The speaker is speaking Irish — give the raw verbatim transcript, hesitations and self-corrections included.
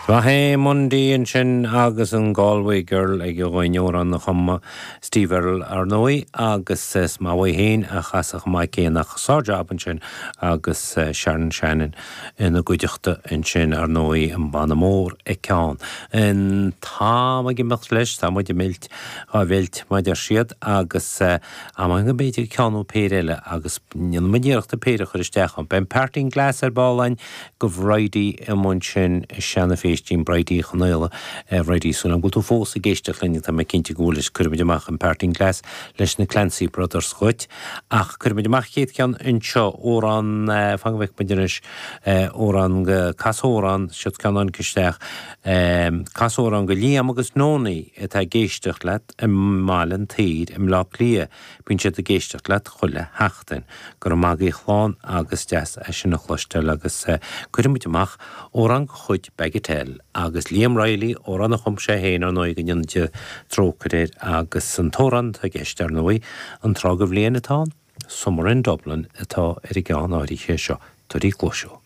Ba é Mundy ansin agus an Galway Girl ag an amhrán a chum Steve Earle ar ndóigh agus is maith féin a chasadh maith céanna sár-jab ansin agus Sharon Shannon ina gcuideachta ansin ar ndóigh an banna mór ag ceann. An t-am ag imeacht leis tá muid meilt á bheilt maidir siad agus am go b'fhéidir ceann nó péire eile agus déanfaidh muid iarracht péire a chur isteach an Ben Parting Glass ar ball go Bridie i mbun sin seana-phéistín Bridie Chonaola Bridie súil agam go bhfuil tú fós ag éisteacht linn tá mé cinnte go bhfuil is cuirfimid amach an Parting Glass leis na Clancy Brothers dhuit ach cuirfimid amach chéad ceann anseo amhrán fan go bhfeicfimid anois amhrán go casamhrán siod ceann an isteach casamhrán go Liam agus Nónaí atá ag éisteacht leat i mBaile an tSaoir i mBleá Cliath bíonn siad ag éisteacht leat chuile sheachtain go raibh maith agat a chlann agus deas é sin a chloisteáil agus cuirfimid amach amhrán de chuid Bagatelle agus Liam Reilly amhrán a chum sé féin ar ndóigh go ndéana Dia trócaire air agus an t-amhrán atá i gceist ar ndóigh an tráth den bhliain atá ann Summer in Dublin atá ar an gceann áirithe seo tar í gcloiseo.